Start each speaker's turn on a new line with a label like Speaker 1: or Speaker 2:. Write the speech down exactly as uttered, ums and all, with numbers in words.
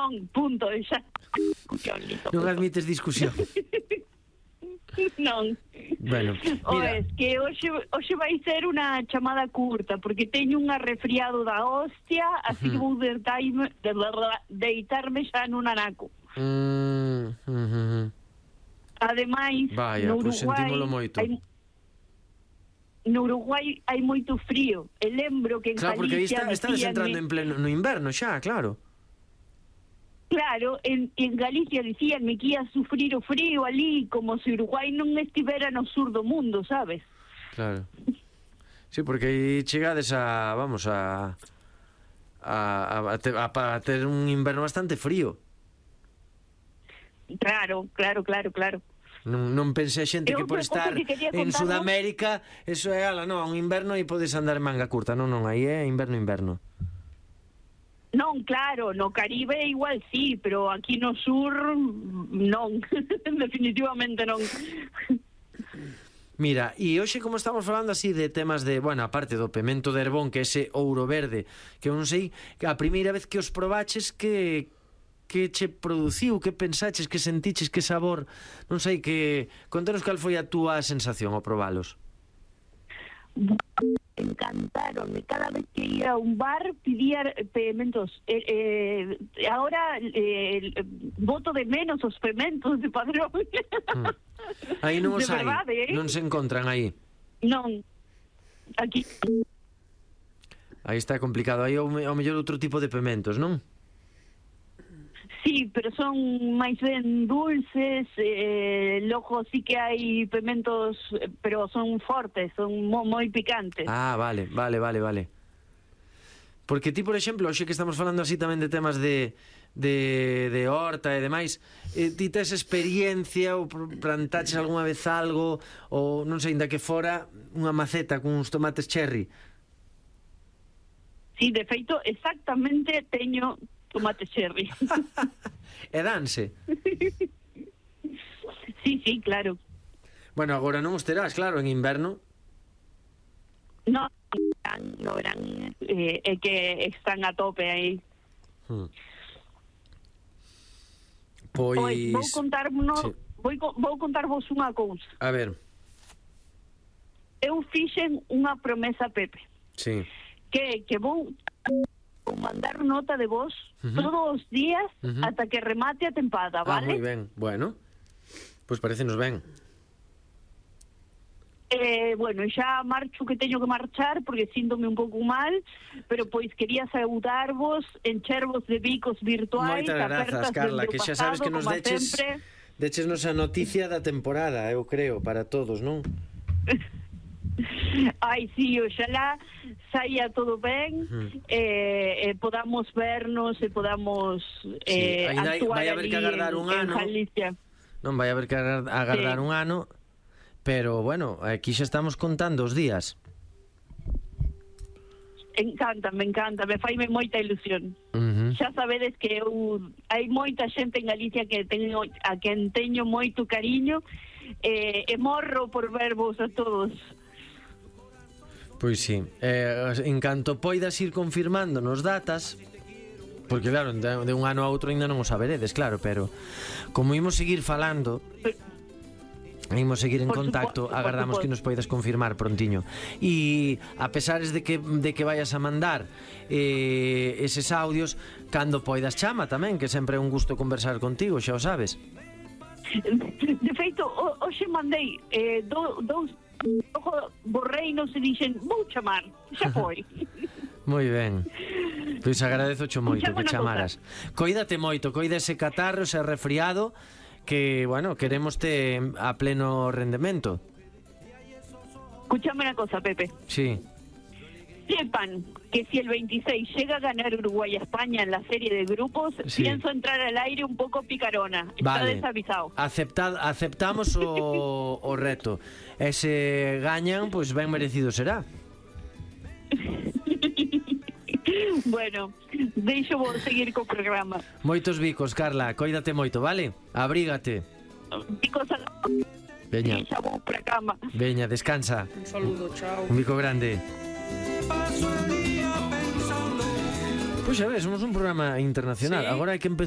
Speaker 1: non, punto, xa.
Speaker 2: Non admites discusión.
Speaker 1: Non.
Speaker 2: Bueno,
Speaker 1: O
Speaker 2: mira.
Speaker 1: es que hoxe, hoxe vai ser unha chamada curta, porque teño unha resfriado da hostia, así que vou deitarme, de verdad, deitarme xa nun anaco.
Speaker 2: Mm, uh, uh,
Speaker 1: Ademais,
Speaker 2: Vaya,
Speaker 1: no
Speaker 2: pois
Speaker 1: Uruguai,
Speaker 2: sentímolo moito.
Speaker 1: hai, no Uruguai hai moito frío. E lembro que en
Speaker 2: Claro, porque aí
Speaker 1: Galicia
Speaker 2: está, estás
Speaker 1: dicíanme-
Speaker 2: entrando en pleno no inverno xa, claro.
Speaker 1: Claro, en, en Galicia dicíanme que ia sufrir o frío ali, como se Uruguai non estivera no sur do mundo, sabes?
Speaker 2: Claro. Sí, porque aí chegades a, vamos, a a, a, a, te, a, a ter un inverno bastante frío.
Speaker 1: Claro, claro, claro, claro.
Speaker 2: Non, non pense a xente
Speaker 1: E
Speaker 2: que por
Speaker 1: outra
Speaker 2: estar
Speaker 1: cousa que quería
Speaker 2: en
Speaker 1: contarvos-
Speaker 2: Sudamérica, eso é, ala, non, un inverno e podes andar en manga curta. Non, non, aí é inverno, inverno.
Speaker 1: Non, claro, no Caribe igual sí, pero aquí no sur non, definitivamente non.
Speaker 2: Mira, e hoxe como estamos falando así de temas de, bueno, aparte do pemento de Herbón, que é ese ouro verde, que eu non sei, que a primeira vez que os probaches, que que che produciu, que pensaches, que sentiches, que sabor, non sei, que contanos cal foi a túa sensación ao probalos.
Speaker 1: Encantaron, cada vez que ia a un bar pedía pementos. Eh, eh, ahora eh, voto de menos os pementos de Padrón.
Speaker 2: Mm. Aí non os
Speaker 1: De
Speaker 2: hai,
Speaker 1: verdade, eh?
Speaker 2: non se encontran aí.
Speaker 1: Non, aquí
Speaker 2: Aí está complicado, aí ao, ao mellor outro tipo de pementos, non?
Speaker 1: sí, pero son máis ben dulces, eh, logo sí que hai pementos, eh, pero son fortes, son mo, moi picantes.
Speaker 2: Ah, vale, vale, vale, vale. Porque ti, por exemplo, hoxe que estamos falando así tamén de temas de de, de horta e demais, eh, ti tes experiencia ou pr- plantaches algunha vez algo, ou non sei, inda que fora unha maceta con uns tomates cherry.
Speaker 1: Sí, de feito, exactamente teño tomate cherry.
Speaker 2: E danse.
Speaker 1: Sí, sí, claro.
Speaker 2: Bueno, agora non os terás, claro, en inverno.
Speaker 1: No, no verán, eh, é que están a tope aí.
Speaker 2: Hmm.
Speaker 1: Pois,
Speaker 2: Pois...
Speaker 1: vou contarvos,
Speaker 2: sí.
Speaker 1: vou, co- vou contarvos unha cousa.
Speaker 2: A ver,
Speaker 1: Eu fixen unha promesa a Pepe,
Speaker 2: sí.
Speaker 1: que que vou vou mandar nota de voz
Speaker 2: Ujú.
Speaker 1: todos os días
Speaker 2: Ujú.
Speaker 1: ata que remate a tempada,
Speaker 2: Ah, moi
Speaker 1: vale?
Speaker 2: ben. Bueno, pois parécenos ben.
Speaker 1: Eh, bueno, xa marcho que teño que marchar porque síntome un pouco mal, pero pois quería saudarvos, enchervos de bicos virtuais,
Speaker 2: Moitas grazas,
Speaker 1: apertas
Speaker 2: Carla,
Speaker 1: dende o
Speaker 2: que xa sabes
Speaker 1: pasado,
Speaker 2: que nos
Speaker 1: como
Speaker 2: deches
Speaker 1: sempre.
Speaker 2: deches a noticia da temporada, eu creo, para todos, non?
Speaker 1: Ai, sí, oxalá saia todo ben,
Speaker 2: Ujú.
Speaker 1: eh, eh, podamos vernos e podamos eh,
Speaker 2: Sí, aínda hai-
Speaker 1: actuar
Speaker 2: vai haber
Speaker 1: ali
Speaker 2: que agardar
Speaker 1: en,
Speaker 2: un
Speaker 1: en
Speaker 2: ano.
Speaker 1: Galicia.
Speaker 2: Non vai haber que agar- agardar
Speaker 1: Sí.
Speaker 2: un ano, pero bueno, aquí xa estamos contando os días.
Speaker 1: Encanta, me encanta, me faime moita ilusión.
Speaker 2: Uh-huh.
Speaker 1: Xa sabedes que eu hai moita xente en Galicia que teño, a quen teño moito cariño, eh, e morro por vervos a todos.
Speaker 2: Pois sí, eh, en canto poidas ir confirmando nos datas, porque claro, de, de un ano a outro ainda non o saberedes, claro, pero como imos seguir falando, imos seguir en
Speaker 1: Por
Speaker 2: contacto,
Speaker 1: suposto, por
Speaker 2: agardamos
Speaker 1: suposto.
Speaker 2: que nos poidas confirmar prontiño. E a pesares de que de que vayas a mandar eh, eses audios, cando poidas chama tamén, que sempre é un gusto conversar contigo, xa o sabes.
Speaker 1: De feito, ho- hoxe mandei eh, do, dous ojo, borreinos e dixen, vou chamar, xa foi.
Speaker 2: Moi ben. Pois agradezo cho moito
Speaker 1: Escuchame
Speaker 2: que
Speaker 1: unha
Speaker 2: chamaras. Coídate moito, coida ese catarro, ese resfriado, que, bueno, queremos te a pleno rendemento.
Speaker 1: Escúchame una cosa, Pepe.
Speaker 2: Sí.
Speaker 1: Sepan que si el veintiséis llega a ganar Uruguay a España en la serie de grupos,
Speaker 2: Sí.
Speaker 1: pienso entrar al aire un poco picarona. Está
Speaker 2: Vale.
Speaker 1: desavisado.
Speaker 2: Aceptad, aceptamos o, o reto. E se gañan, pois ben merecido será.
Speaker 1: Bueno, deixo vos seguir co programa.
Speaker 2: Moitos bicos, Carla, coídate moito, vale? Abrígate.
Speaker 1: Picos a...
Speaker 2: Veña,
Speaker 1: Xa vou pra cama.
Speaker 2: veña, descansa.
Speaker 3: Un saludo, chao.
Speaker 2: Un bico grande. Pois xa ves, somos un programa internacional.
Speaker 3: Sí.
Speaker 2: Agora hai que empezar